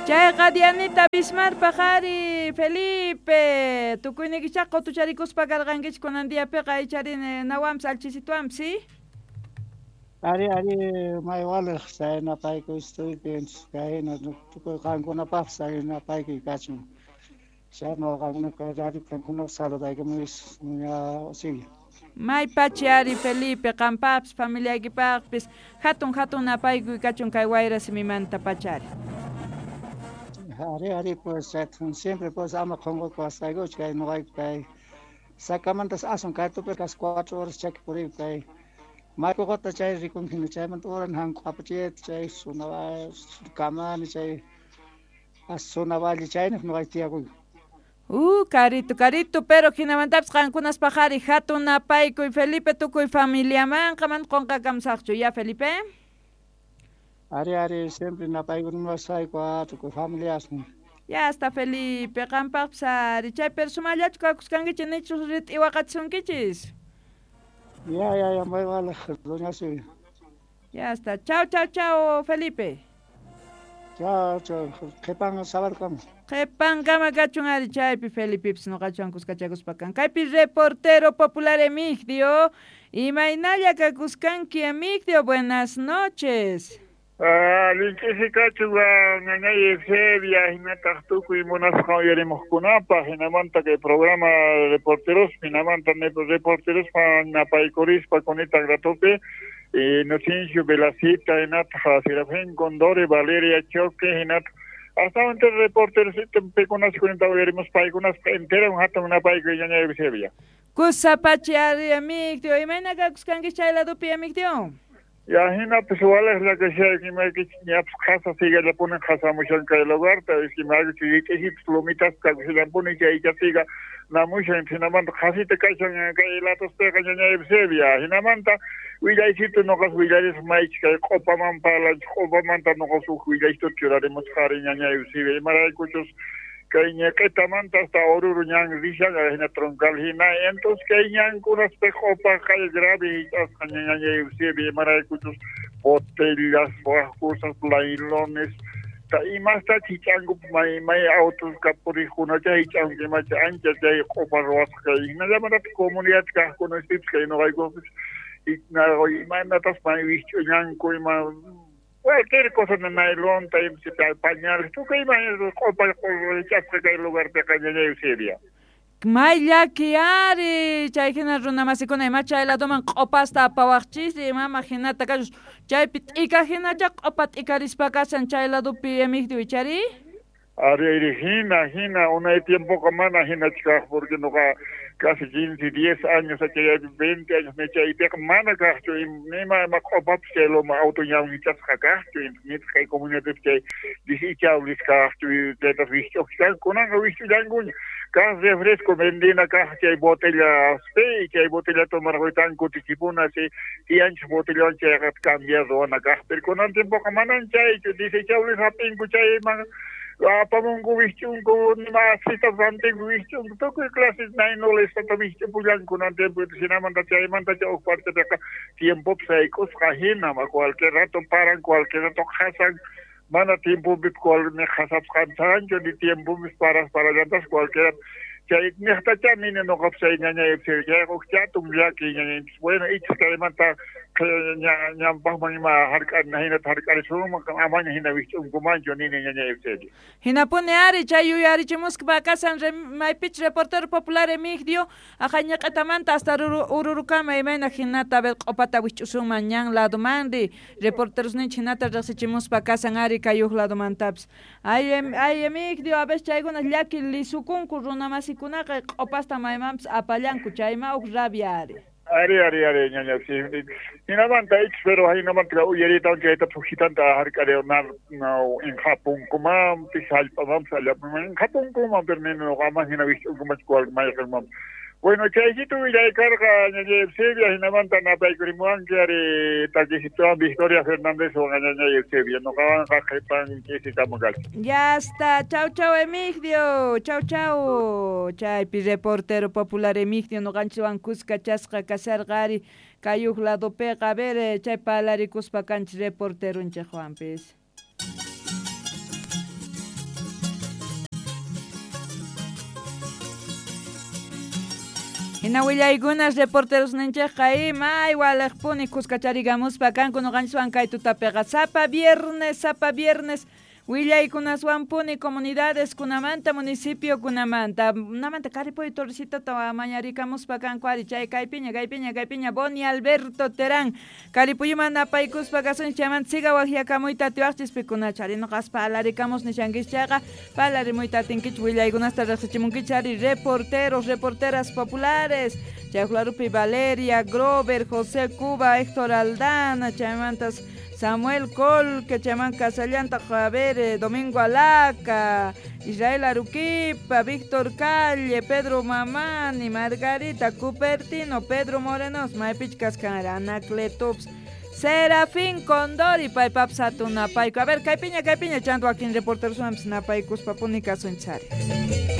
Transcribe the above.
Chayqa Dianita Bismarckpaq ari, Felipe, tukuynikichá qutucharikuspa karqankichik kunan diapiqa ichari nawanpis alchisituwanpis, ¿sí? Ari, ari, may waliq chay napaykuy estuypi kayna tukuy qankunapaqpis napaykuy kachun. Chayna qamkunaqa radio qamkuna saludaykamuy ña Silvia. May pachi ari Felipe, qampaqpis familiaykipaqpis hatun hatun napaykuy kachun kay wayra simimanta pachari. Ari, ari, pues siempre pues ama qunqakuwasqaykuchu kay nuqayku kay Sacamantas asun kay tupi casi 4 horas chaki puriyku kay Maykuqata chay rikunki chaymanta uran hanku apachita chay zona Kamani chay zona Valle chayniq nuqayku tiyakuyku. Carito, carito, pero hinamantapis qankunaspaq ari hatun napaykuy Felipe tukuy familiamanqa mana qunqakamusaqchu, ya Felipe? Ari, ari, siempre napaykunamasayku tukuy familiasman. Ya está Felipe, qampaqpis ari chay pero sumallachu kakuskankichik nichus rit'i waqachisunkichis. Ya, ya, ya, muy vale, doña Silvia. Ya está. Chao, chao, chao, Felipe. Chao, chao. Qhipan sábado. Qhipankama kachun ari chaypi Felipepis nuqachuan kuskachakuspa kan. Kaypi reportero popular Emigdio. Imaynalla kakuskanki Emigdio, buenas noches. Allinch'isi kachun ñañay Eusebia hinataq tukuy munasqa uyarimuqkunapaq hinamanta kay programa reporteros hinamanta reporterospa napaykurispa kunita ratupi Inocencio Velacita hinataq Serafín Condori Valeria Choque hinataq astawan reporteros pikunas kunita uyarimus paykunas entero hatun napaykuy ñañay Eusebia. Kusapachi ari Emigdio, imayna kakuskanki chay ladupi Emigdio? Ya hinapis waliqlla kashayki imaykichik ñapis qhasa sigallapuni qhasamushan kay lugarta imaykichik rit'isipis lomitaspa kakushallampuni chaycha siga namushan hinamanta qhasita kashan kay latuspiqa ñañay Eusebia hinamanta willaysitu nuqas willarisaq maychik kay q'upaman parlanchik q'upamanta nuqas huk willaysitu churarimusqa ari ñañay Eusebia imaraykuchus kay ñiq'itamanta hasta Oruro ñan rishan hina troncal hina entonces kay ñankunaspi q'upa kay grave hich'asqa ñañay Eusebia imaraykuchus botellas wak cosas nailones ta imasta hich'anku may may autos puriqkunacha hich'anku imacha ancha chay q'upa ruwasqa kay hinallamantataq comunidad kaqkunaspipis kay nuqaykupis imaynatas may wikch'uñanku ima cualquier cosa de nailon, pañales, tukuy ima q'upa hich'asqa kay lugarpiqa ñañay Eusebia. May llaki ari chay hina runa masikuna ima chay laduman q'upasta apawaqchis imama hinata kachus chaypi t'ika hinacha q'upa t'ikarispa kashan chay ladupi Emigdio ichari? Ari, ari, hina, hina, unay tiempoqa mana hinachu kaq porque nuqa casi 15, 10 años, chaypi 20 años chaypiqa mana kaqchu nima ima q'upapis chay loma auto ñan hich'asqa kaqchu nitaq kay comunidadpi chay desechable kaqchu chaytas wikch'uqchkanku kunanqa wikch'ullankuña kaq refresco vendina kaq chay botella pi chay botella tomarquytan kutichipuna si tiyanchik botellawan chayqa cambiar ruwana kaq pero kunan tiempoqa manan chaychu desechables hap'inku chayman apamunku wikch'unku nima asitas rantinku wikch'unku tukuy clases nailones wikch'upullanku kunan tiempo hinamanta chaymanta chay huk partepiqa tiempopis sayk'usqa hina cualquier rato paran cualquier rato qhasan mana tiempopi ni qhasapis qancharanchu ni tiempopis paras parallantas cualquier chay niqtacha nini nuqapis chay ñañay chayqa huk hatun llaki ñañay bueno ichis kaymanta ñanpaqman ima hark'arina hinata hark'arisunman amaña hina wikch'unkumanchu nini ñañay Eusebia. Hinapuni ari chay yuyarichimuspa kashan maypich reportero popular Emigdio aqay ñiq'itamanta hasta Ururukama imayna hinata a ver q'upata wikch'usunman ñan ladumanri reporterosninchik hinata riqsichimuspa kashan ari kay huk ladumantapis. Ay, ay Emigdio a ver chaykuna llaki lisukunku runa masikunaqa q'upasta maymanpis apallanku chayma huk rabia ari. Ari, ari, ari, ñaña, sí. Hinamanta ichis, pero hinamanta uyaritawan chayta phujitanta hark'ari no inqhapunkumanpis hallp'amanpis allapaman inqhapunkuman pero nini nuqaman hina wikch'unkumanchu cual mayqinmanpis. Bueno, chaysitu willaykarqa ñañay Eusebia hinamanta napaykurimuwanki ari takisituwan Victoria Fernándezwan ñañay Eusebia nuqawanqa qhipan ch'isikama kachun. Ya está, chau chau Emigdio, chau chau. Chaypi reportero popular Emigdio nuqanchikwan kuska chasqa kasharqa ari kay huk ladupiqa a ver chay parlarikuspa kanchik reporteronchikwanpis. Hina willaykunas reporteros ninchikqa ima waliqpuni kuskacharigamuspa kanku ñuqanchiswan kay tutapiqa sapa viernes willaykunaswanpuni comunidades kunamanta municipio kunamanta namanta Caripuyo Torrecitota mañarikamuspa kanku ari chay kaypiña kaypiña Boni Alberto Terán Caripuyuman napaykuspa kasunchik chaymanta siga waqyakamuyta atiwaqchis pikunacha ari nuqaspa alarikamus nishankichik chayqa palarimuyta atinkichik willaykunasta riqsichimunkichik ari reporteros reporteras populares chay Clarupi Valeria Grover, José Cuba, Héctor Aldana chaymantas Samuel Colque, chayman Casallanta, Javier, Domingo Alaca, Israel Aruquipa, Víctor Calle, Pedro Mamani, Margarita Cupertino, Pedro Morenos, Maypich Cascan, Anacletops, Serafín Condori, paypaps hatun napayku. A ver, kaypiña, chanto wakin reporteros napaykuspa puni kasunchari.